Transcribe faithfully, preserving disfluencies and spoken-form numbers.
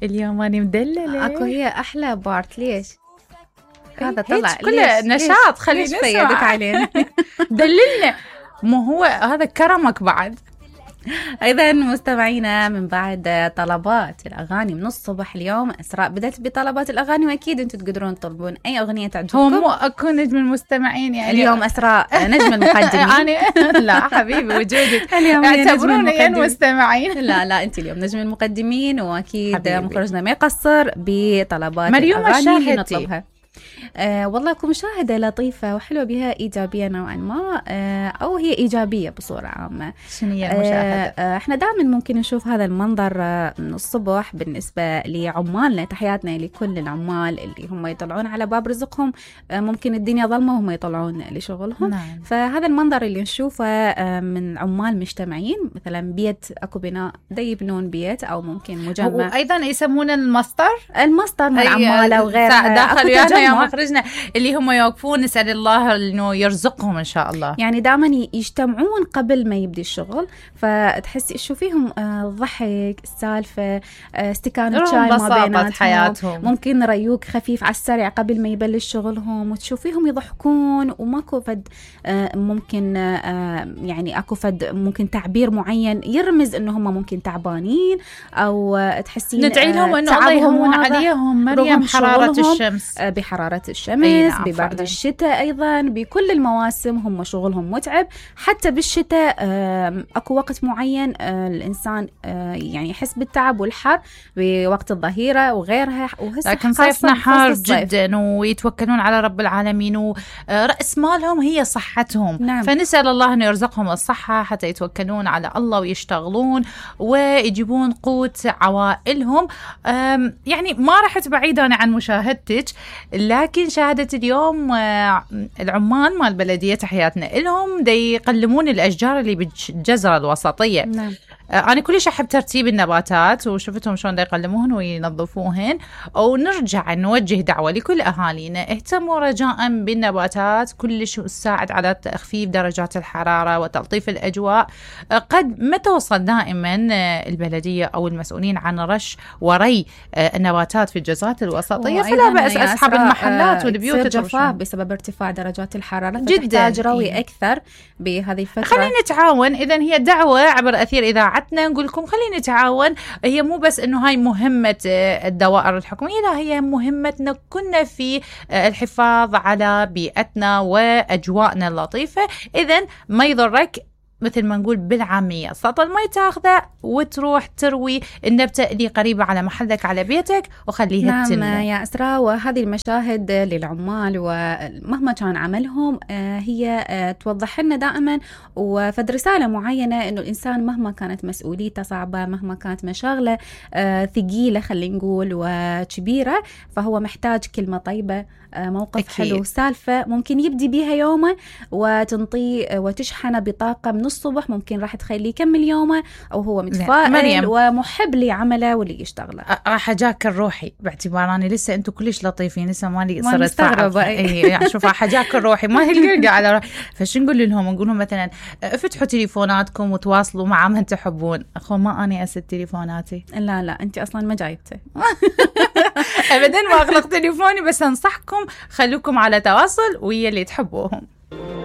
اليوم أنا مدللة. اكو هي احلى بارت. ليش هذا طلع كله نشاط؟ خلينا نسمع علينا. دللنا. مو هو هذا كرمك بعد. ايضا مستمعينا، من بعد طلبات الاغاني من الصبح اليوم اسراء بدأت بطلبات الاغاني، واكيد انتم تقدرون تطلبون اي اغنيه تعجبكم. هو مو اكو نجم المستمعين يعني اليوم اسراء نجم المقدمين. انا لا حبيبي وجودك اليوم اعتبروني المستمعين. لا لا انت اليوم نجم المقدمين، واكيد مخرجنا ما يقصر بطلبات مريوم الاغاني اللي نطلبها. آه والله كمشاهدة لطيفة وحلوة بها إيجابية نوعا ما، آه أو هي إيجابية بصورة عامة. شنو هي المشاهدة؟ آه احنا دائما ممكن نشوف هذا المنظر آه من الصبح بالنسبة لعمالنا. تحياتنا لكل العمال اللي هم يطلعون على باب رزقهم، آه ممكن الدنيا ظلمة وهم يطلعون لشغلهم. نعم. فهذا المنظر اللي نشوفه آه من عمال مجتمعين، مثلا بيت أكو بناء دا يبنون بيت أو ممكن مجمع، وأيضا يسمون المسطر المسطر من عمالة وغيرها. داخل يا مخرجنا اللي هم يوقفون، نسأل الله إنه يرزقهم إن شاء الله. يعني دائما يجتمعون قبل ما يبدي الشغل، فتحسي تشوفيهم آه ضحك، السالفة، آه استكانة شاي ما بيناتهم، حياتهم. ممكن ريوق خفيف على السريع قبل ما يبلش شغلهم، وتشوفيهم يضحكون وماكو فد آه ممكن آه يعني أكو فد ممكن تعبير معين يرمز إنه هم ممكن تعبانين، أو آه تحسين ندعي لهم إنه الله يهون عليهم مريم حرارة الشمس، آه بحرارة الشمس، ببرد الشتاء، أيضا بكل المواسم هم شغلهم متعب. حتى بالشتاء أكو وقت معين الإنسان يعني يحس بالتعب والحر بوقت الظهيرة وغيرها، لكن صيفنا حار جدا ويتوكلون على رب العالمين، ورأس مالهم هي صحتهم. نعم. فنسأل الله أنه يرزقهم الصحة حتى يتوكلون على الله ويشتغلون ويجيبون قوت عوائلهم. يعني ما رحت بعيدا عن مشاهدتك، لكن شاهدت اليوم العمال مال البلدية، تحياتنا لهم، دي يقلمون الأشجار اللي بالجزرة الوسطية. نعم. أنا كلش أحب ترتيب النباتات، وشفتهم شلون دا يقلموهن وينظفوهن. ونرجع نوجه دعوة لكل أهالينا، اهتموا رجاء بالنباتات، كلش تساعد على تخفيف درجات الحرارة وتلطيف الأجواء. قد ما توصل دائما البلدية أو المسؤولين عن رش وري النباتات في الجزرات الوسطية، فلا بأس أصحاب المحلات والبيوت جفاف بسبب ارتفاع درجات الحرارة، فتحتاج روي أكثر بهذه الفترة. خلينا نتعاون. إذن هي دعوة عبر أثير إذاعتنا نقول لكم خلينا نتعاون. هي مو بس إنه هاي مهمة الدوائر الحكومية، لا، هي مهمتنا كنا في الحفاظ على بيئتنا وأجواءنا اللطيفة. إذن ما يضرك مثل ما نقول بالعامية سطل ما تاخذه وتروح تروي النبتة اللي قريبة على محلك على بيتك وخليها نعم تنمو. نعم يا أسراء، وهذه المشاهد للعمال ومهما كان عملهم هي توضح لنا دائما وفد رسالة معينة إنه الإنسان مهما كانت مسؤوليته صعبة، مهما كانت مشاغلة ثقيلة خلينا نقول وكبيرة، فهو محتاج كلمة طيبة، موقف أكيد. حلو، سالفة ممكن يبدي بيها يومه وتنطي وتشحنه بطاقة من الصبح، ممكن راح تخليه يكمل يومه أو هو متفائل ومحب لعمله واللي يشتغله. راح أجاكر روحي باعتبار أني لسه أنتوا كلش لطيفين، لسه مالي صرت مستغربة. إيه يعني شوف راح أجاكر روحي ما هي على روحي. فش نقول لهم؟ نقول لهم مثلا افتحوا تليفوناتكم وتواصلوا مع من تحبون. أخو ما أنا أسد تليفوناتي. لا لا أنت أصلا ما جايبته. أبدا ما أغلق تليفوني، بس أنصحكم خلوكم على تواصل ويا اللي تحبوهم.